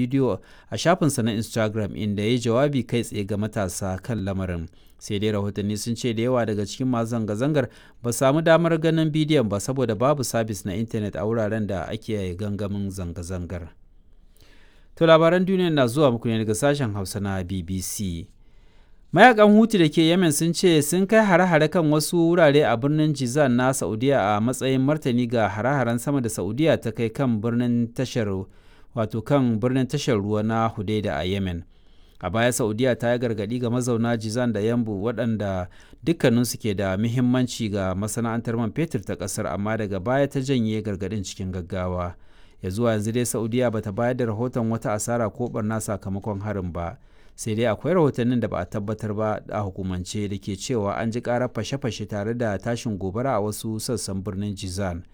Bidiyo a shafinsa na Instagram inda ya yi jawabi kai tsaye ga matasa kan lamarin, sai dai rahotanni sun ce da yawa daga cikin masu zanga-zangar ba su sami damar ganin bidiyon ba saboda babu sabis na intanet a wuraren da ake gangamin zanga-zangar. To labaran duniya na zuwa muku ne daga sashen Hausa na BBC. Mayakan Houthi da ke Yemen sun ce sun kai hare-hare kan wasu wurare a birnin Jizan na Saudiya a matsayin martani ga hare-haren sama da Saudiya ta kai kan birnin tashar wato kan birnin tashar ruwa na Hudaida a Yemen. A baya Saudiya ta yi gargaɗi ga mazauna Jizan da Yanbu waɗanda dukkaninsu ke da muhimmanci ga masana'antar man fetur ta ƙasar, amma daga baya ta janye gargaɗin cikin gaggawa. Ya zuwa yanzu dai Saudiya bata bayar da rahoton wata asara ko barna sakamakon harin ba. Sai dai akwai rahotannin da ba a tabbatar ba a hukumance da ke cewa an ji karar fashe-fashe tare da tashin gobara a wasu sassan birnin Jizan.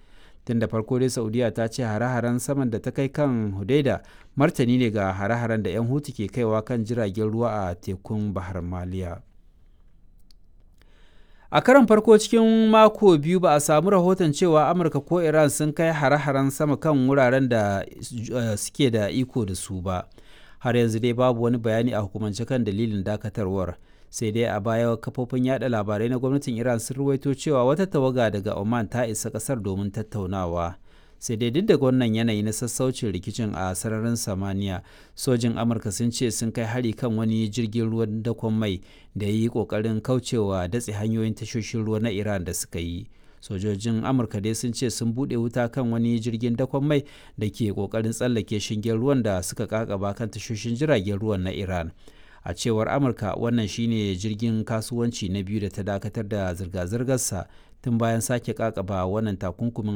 Tun da farko dai Saudiya ta ce hare-haren saman da ta kai kan Hudaida martani ne ga hare-haren da 'yan Hutu ke kaiwa kan jiragen ruwa a tekun Bahar Maliya. A karon farko cikin mako biyu ba a samu rahoton cewa Amurka ko Iran sun kai hare-haren sama kan wuraren da suke da iko da su ba. Har yanzu dai babu wani bayani a hukumance kan dalilin dakatarwar. Sai dai a baya kafofin yada labarai na gwamnatin Iran sun ruwaito cewa wata tawaga daga Oman ta isa kasar domin tattaunawa. Sai dai duk da wannan yanayi na sassaucin rikicin a sararin samaniya, sojin Amurka sun ce sun kai hari kan wani jirgin ruwan dakon mai da ya yi kokarin kaucewa datse hanyoyin tashoshin ruwa na Iran da suka yi. Sojojin Amurka dai sun ce sun buɗe wuta kan wani jirgin dakon mai da ke kokarin tsallake shingen ruwan da suka kakaba kan tashoshin jiragen ruwan na Iran. A cewar Amurka, wannan shine jirgin kasuwanci na biyu da ta dakatar da zirga-zirgarsa tun bayan sake kakaba wannan takunkumin.